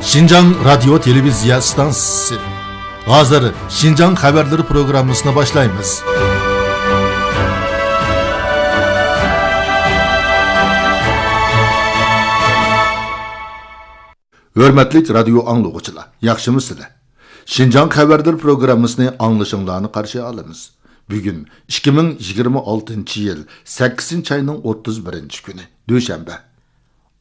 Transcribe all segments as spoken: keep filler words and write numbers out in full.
شىنجاڭ رادىيو تېلېۋىزىيە ئىستانسىسى. ھازىر شىنجاڭ خەۋەرلىرى پروگراممىسىنى باشلايمىز. ھۆرمەتلىك رادىيو ئاڭلىغۇچىلار، ياخشىمۇسىلەر؟ شىنجاڭ خەۋەرلىرى پروگراممىسىنى ئاڭلىشىڭلارنى قارشى ئالىمىز. بۈگۈن ئىككى مىڭ يىگىرمە ئالتىنچى يىل سەككىزىنچى ئاينىڭ ئوتتۇز بىرىنچى كۈنى، دۈشەنبە.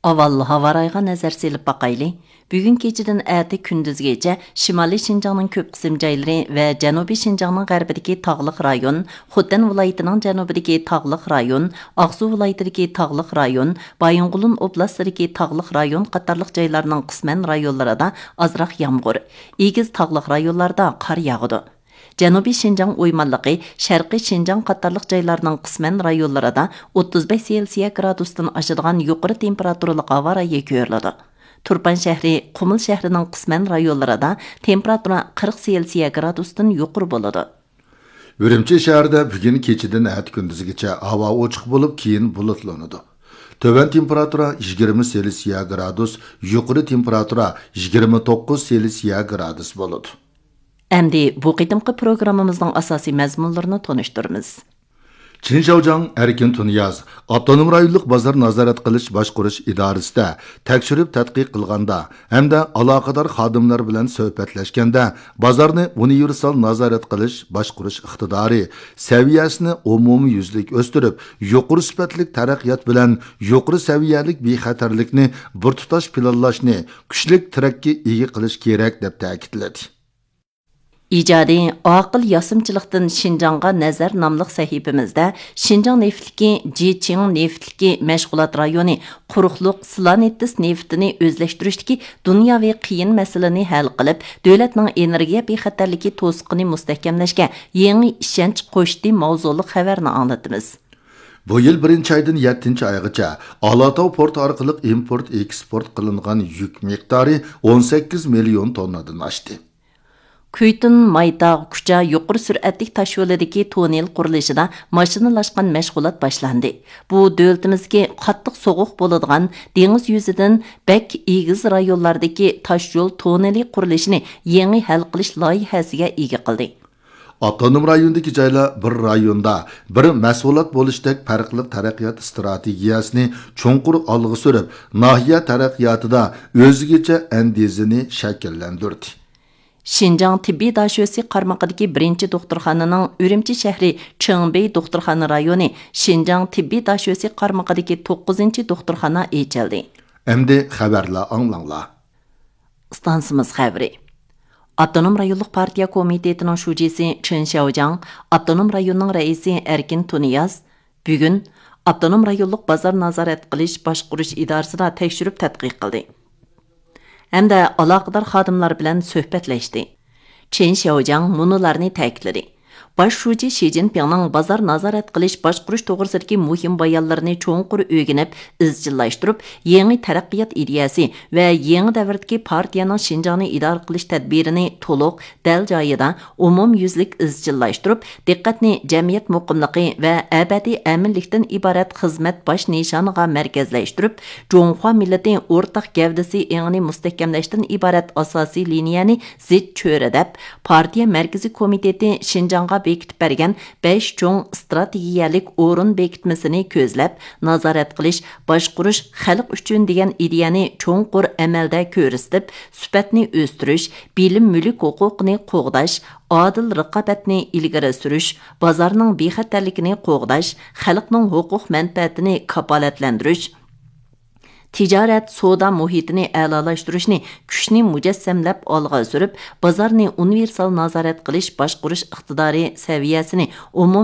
ئاۋۋال ھاۋا رايىغا نەزەر سېلىپ باقايلى. بۈگۈن كېچىدىن ئەتە كۈندۈزگىچە شىمالىي شىنجاڭنىڭ كۆپ قىسىم جايلىرى ۋە جەنۇبىي شىنجاڭنىڭ غەربىدىكى تاغلىق رايون، خوتەن ۋىلايىتىنىڭ جەنۇبىدىكى تاغلىق رايون، ئاقسۇ ۋىلايىتىدىكى تاغلىق رايون، بايىنغولىن ئوبلاستىدىكى تاغلىق رايون قاتارلىق جايلارنىڭ قىسمەن رايونلىرىدا ئازراق يامغۇر، ئېگىز تاغلىق رايونلاردا قار ياغىدۇ. جەنۇبىي شىنجاڭ ئويمانلىقى، شەرقىي شىنجاڭ قاتارلىق جايلارنىڭ قىسمەن رايونلىرىدا ئوتتۇز بەش سېلسىيە گرادۇستىن ئاشىدىغان يۇقىرى تېمپېراتۇرىلىق ھاۋا رايى كۆرۈلىدۇ. تۇرپان شەھىرى، قۇمۇل شەھىرىنىڭ قىسمەن رايونلىرىدا تېمپېراتۇرا قىرىق سېلسىيە گرادۇستىن يۇقىرى بولىدۇ. ئۈرۈمچى شەھىرىدە بۈگۈن كېچىدىن ئەتە كۈندۈزگىچە ھاۋا ئوچۇق بولۇپ، كېيىن بۇلۇتلىنىدۇ. تۆۋەن تېمپېراتۇرا يىگىرمە سېلسىيە گرادۇس، يۇقىرى تېمپېراتۇرا يىگىرمە توققۇز سېلسىيە گرادۇس بولىدۇ. ئەمدى بۇ قېتىمقى پروگراممىمىزنىڭ ئاساسىي مەزمۇنلىرىنى تونۇشتۇرىمىز. چېن شياۋجياڭ ئەركىن تۇنىياز ئاپتونوم رايونلۇق بازار نازارەت قىلىش باشقۇرۇش ئىدارىسىدە تەكشۈرۈپ تەتقىق قىلغاندا ھەمدە ئالاقىدار خادىملار بىلەن سۆھبەتلەشكەندە، بازارنى ئۇنىۋېرسال نازارەت قىلىش باشقۇرۇش ئىقتىدارى سەۋىيەسىنى ئومۇميۈزلۈك ئۆستۈرۈپ، يۇقىرى سۈپەتلىك تەرەققىيات بىلەن يۇقىرى سەۋىيەلىك بىخەتەرلىكنى بىر تۇتاش پىلانلاشنى كۈچلۈك تىرەككە ئىگە قىلىش كېرەك، دەپ تەكىتلىدى. ئىجادىي، ئاقىل ياسىمىچىلىقتىن شىنجاڭغا نەزەر ناملىق سەھىپىمىزدە شىنجاڭ نېفىتلىكى جىچىڭ نېفىتلىكى مەشغۇلات رايونى قۇرۇقلۇق سلانېتس نېفىتىنى ئۆزلەشتۈرۈشتىكى دۇنياۋى قىيىن مەسىلىنى ھەل قىلىپ، دۆلەتنىڭ ئېنېرگىيە بىخەتەرلىكى توسۇقىنى مۇستەھكەملەشكە يېڭى ئىشەنچ قوشتى ماۋزۇلۇق خەۋەرنى ئاڭلىتىمىز. بۇ يىل بىرىنچى ئايدىن يەتتىنچى ئايغىچە ئالاتاۋ پورتى ئارقىلىق ئىمپورت ئېكسپورت قىلىنغان يۈك مىقدارى ئون سەككىز مىليون توننادىن ئاشتى. كۈيتۇن مايتاغ كۇچا يۇقىرى سۈرئەتلىك تاشيولىدىكى توننېل قۇرۇلۇشىدا ماشىنىلاشقان مەشغۇلات باشلاندى. بۇ دۆلىتىمىزدىكى قاتتىق سوغۇق بولىدىغان دېڭىز يۈزىدىن بەك ئېگىز رايونلاردىكى تاشيول توننېلى قۇرۇلۇشىنى يېڭى ھەل قىلىش لايىھەسىگە ئىگە قىلدى. ئاپتونوم رايوندىكى جايلار بىر رايوندا بىر مەھسۇلات بولۇشتەك پەرقلىق تەرەققىيات ئىستراتېگىيەسىنى چوڭقۇر ئالغا سۈرۈپ، ناھىيە تەرەققىياتىدا ئۆزگىچە ئەندىزىنى شەكىللەندۈردى. شىنجاڭ تېببىي داشۆسى قارمىقىدىكى بىرىنچى دوختۇرخانىنىڭ ئۈرۈمچى شەھىرى چېڭبېي دوختۇرخانا رايونى، شىنجاڭ تېببىي داشۆسى قارمىقىدىكى توققۇزىنچى دوختۇرخانا ئېچىلدى. ئەمدى خەۋەرلەر ئاڭلاڭلار. ئىستانسىمىز خەۋىرى. ئاپتونوم رايونلۇق پارتىيە كومىتېتىنىڭ شۇجىسى چېن شياۋجياڭ، ئاپتونوم رايوننىڭ رەئىسى ئەركىن تۇنىياز بۈگۈن ئاپتونوم رايونلۇق بازار نازارەت قىلىش باشقۇرۇش ئىدارىسىدا تەكشۈرۈپ تەتقىق قىلدى ھەمدە ئالاقىدار خادىملار بىلەن سۆھبەتلەشتى. چېن شياۋجياڭ مۇنۇلارنى تەكىتلىدى. باش شۇجى شى جىنپىڭنىڭ بازار نازارەت قىلىش باشقۇرۇش توغرىسىدىكى مۇھىم بايانلىرىنى چوڭقۇر ئۆگىنىپ، ئىزچىللاشتۇرۇپ، يېڭى تەرەققىيات ئىدىيەسى ۋە يېڭى دەۋردىكى پارتىيەنىڭ شىنجاڭنى ئىدارە قىلىش تەدبىرىنى تولۇق، دەل جايىدا، ئومۇميۈزلۈك ئىزچىللاشتۇرۇپ، دىققەتنى جەمئىيەت مۇقىملىقى ۋە ئەبەدىي ئەمىنلىكتىن ئىبارەت خىزمەت باش نىشانىغا مەركەزلەشتۈرۈپ، جۇڭخۇا مىللىتى ئورتاق گەۋدىسى ئېڭىنى مۇستەھكەملەشتىن ئىبارەت ئاساسىي لىنىيەنى زىچ چۆرىدەپ، پارتىيە مەركىزىي كومىتېتى شىنجاڭغا بېكىتىپ بەرگەن بەش چوڭ ئىستراتېگىيەلىك ئورۇن بېكىتمىسىنى كۆزلەپ، نازارەت قىلىش، باشقۇرۇش خەلق ئۈچۈن دېگەن ئىدىيەنى چوڭقۇر ئەمەلدە كۆرسىتىپ، سۈپەتنى ئۆستۈرۈش، بىلىم مۈلۈك ھوقۇقىنى قوغداش، ئادىل رىقابەتنى ئىلگىرى سۈرۈش، بازارنىڭ بىخەتەرلىكىنى قوغداش، خەلقنىڭ ھوقۇق مەنپەئەتىنى كاپالەتلەندۈرۈش، تىجارەت، سودا مۇھىتىنى ئەلالاشتۇرۇشنى كۈچنى مۇجەسسەملەپ ئالغا سۈرۈپ، بازارنى ئۇنىۋېرسال نازارەت قىلىش باشقۇرۇش ئىقتىدارى سەۋىيەسىنى ئومۇميۈزلۈك